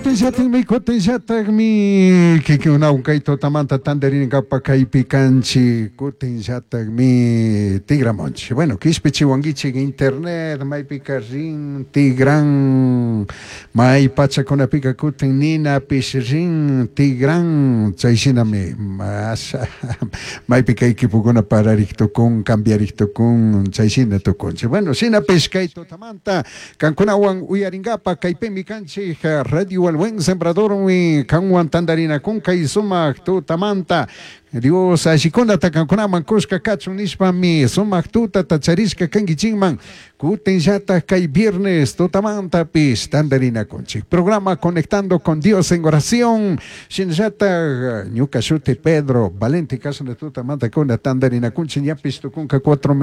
Kutinllatakmi, kutinllatakmi kikinkunawan kay tutamanta tantarinkapak kaypi kanchik, kutinllatakmi tigramunchik. Bueno, kishpichiwankichik internet maypika rin tigran, may pachakunapika kutin ninapish rin tigran, chay shinami asha maypika equipokuna pararik tukun, cambiarik tukun, chay shina tukunchik. Bueno, shinapish kay tutamanta Kankunawan uyarinkapak kaypimi kanchik Radio El Buen Sembradormi kanwan tantarinakun kay sumak tutamanta. Dios allikunata kankunaman kushka kachun nishpami sumak tutata charishka kankichikman kutinllatak kay viernes tutamantapish tantarinakunchik. Programa Conectando con Dios en Oración shinallatak ñuka shuti Pedro Valente kashna tutamanta kuna tantarinakunchik ñapish tukunka cuatro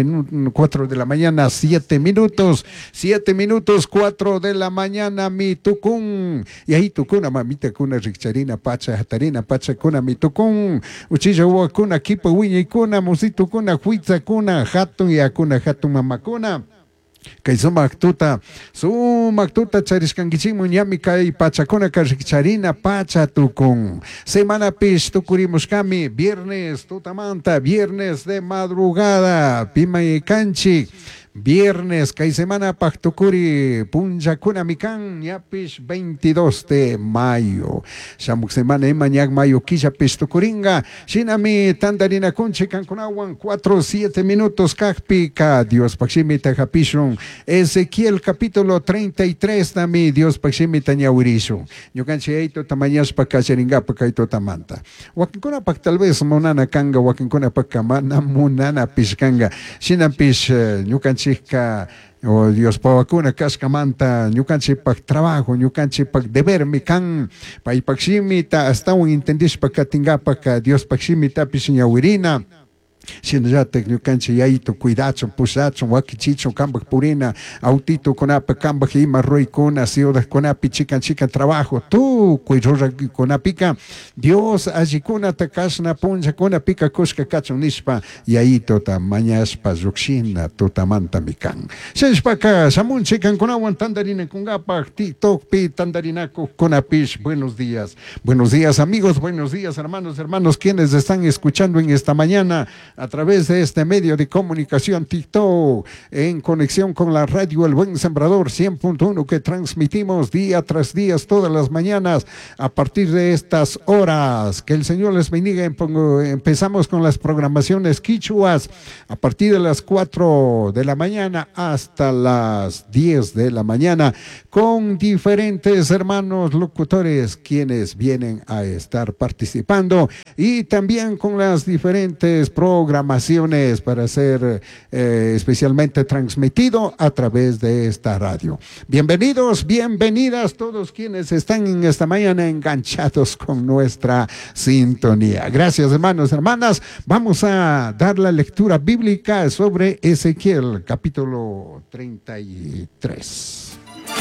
cuatro de la mañana siete minutos. Siete minutos cuatro de la mañana mi tukun. Yayitukuna, mamitakuna, rikcharina pacha, hatarina pachakuna mi tukun. Uchilla wawakuna, kipa wiñaykuna, musitukuna, huitzakuna, hatun yakuna, hatun mamakuna. Kay sumak tuta, sumak tuta charishkankichikman ñami kay pachakunaka rikcharina pacha tukun. Semanapish tukurimushkami viernes tutamanta, viernes de madrugada, pimay kanchik. Viernes kay semanapak tukuri punllakunami kan ñapish 22 de mayo. Shamuk semana ima ñak mayo killapish tukuringa. Shinami tantarinakunchik kankunawan 4 7 minutos kakpika Diospak shimita hapishun. Ezequiel capítulo 33 tami Diospak shimita ñawirishun. Ñukanchik aytuta mañashpa kallarinkapak kay tutamanta. Wakinkunapak tal vez munana kanga, wakinkunapakka mana munanapish kanga. Shinapish ñukanchikka o Diospa wawakuna kashkamanta ñukanchikpak trabajo, ñukanchikpak debermi kan paypak shimita ashtawan entendishpa katinkapak Diospak shimitapish ñawirina. Shinallatak ñukanchik yayitu cuidachun, pushachun, wakichichun kampak purina autitukunapak kampak ima ruraykuna ciudadkunapi chikan chikan trabajo tukuy ruraykunapika Dios allikunata kashna punllakunapika kushka kachun nishpa yayituta mañashpa llukshina tutamantami kan. Shinashpaka shamunchik kankunawan tantarinakunkapak TikTokpi tantarinakuqkunapish buenos días. Buenos días amigos, buenos días hermanos, hermanos quienes están escuchando en esta mañana a través de este medio de comunicación TikTok en conexión con la radio El Buen Sembrador 100.1 que transmitimos día tras día todas las mañanas a partir de estas horas. Que el Señor les bendiga. Empezamos con las programaciones quichuas a partir de las 4 de la mañana hasta las 10 de la mañana con diferentes hermanos locutores quienes vienen a estar participando y también con las diferentes programaciones para ser especialmente transmitido a través de esta radio. Bienvenidos, bienvenidas todos quienes están en esta mañana enganchados con nuestra sintonía. Gracias, hermanos, hermanas. Vamos a dar la lectura bíblica sobre Ezequiel, capítulo 33.